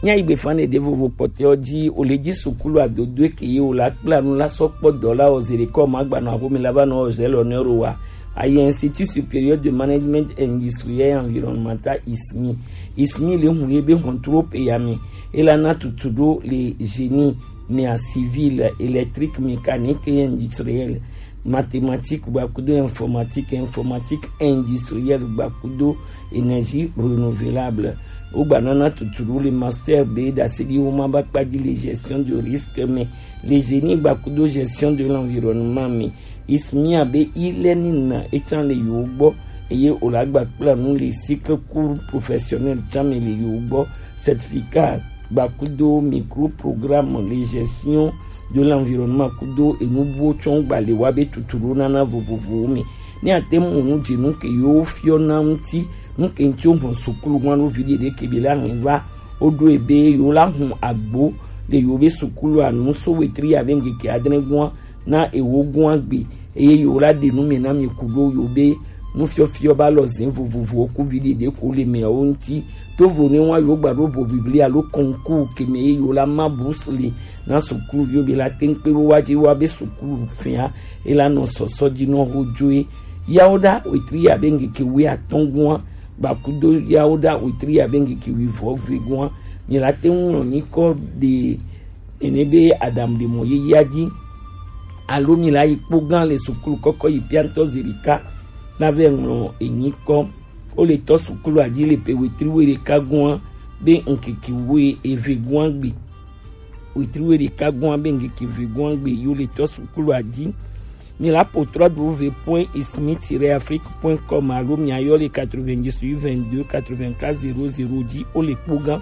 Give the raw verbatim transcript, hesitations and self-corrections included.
Nya igbe fan de vovo kpɔtɛ ɔ ji o le ji sukulu adodo ke ye o la kpla nu la sɔ kpɔ dɔ la o zere kɔ ma gba nɔ axome la va nɔ o zɛ lɔ nɛ ro wa. Ayi Institut Supérieur de Management Industriel et Environnemental, ismi. Ismi le hun ye be hɔntro pe ya mi. E la na tutu do le génie, mia civil, électrique, mécanique et industriel, mathématique gbakudo informatique, informatique industrielle gbakudo énergie renouvelable. Wo gba nana tuturu le master be dasedi wo ma ba kpaji le gestion de risque me, le génie gbakudo gestion de l'environnement me. Ismia be e-learning na etan le yo gbɔ, eye o la gba kpla nu le cycle cours professionnel tan me le yo gbɔ, certificat gbakudo micro programme le gestion de l'environnement kudo enubuwo tsɔn gba le wa be tuturu nana vovovowo me. Ne ate mu nu dzi nu ke yo fiɔ na ŋuti, nu ke ŋuti wo hɔn sukulu ŋua ɖo vi ɖeɖe ke bi la hɛn va, wo ɖo ebe yo la hun agbo le yo be sukulu anu so wetri ya be ŋkeke adre ŋua na ewo ŋua gbe, eye yo la ɖe nu me na mi kudo yo be nufiɔfiɔ ba lɔ zin vovovowo ku vi ɖeɖe ko le meawo ŋuti. To vo ne wa yo gba ɖo vo biblia alo concours ke me ye yo la ma bourse le na sukulu yo be la teŋ kpe wo wa dzi wa be sukulu fia e la nɔ sɔsɔ dzi nɔ ho dzoe. Yawo ɖa wetri ya be ŋkeke wi atɔn ŋua gbakudo yawo ɖa wetri ya be ŋkeke wi vɔ ve ŋua. Mi la teŋ ŋlɔ nyikɔ ɖe ene be Adam ɖe mɔ yeyea dzi, alo mi la yi kpo gã le sukulu kɔkɔ yi piantɔ zerika na vɛ ŋlɔ enyikɔ. O le tɔ sukulu adzi le pe wetri we ɖeka gua be ŋkeke we eve gua gbe. Wetri we ɖeka gua be ŋkeke ve gua gbe yo le tɔ sukulu adzi. Mi la po trois w point ismi tiret afrique point com alo mi ayɔ le quatre-vingt-dix-huit vingt-deux quatre-vingt-quatre zéro zéro dzi o le kpo gã.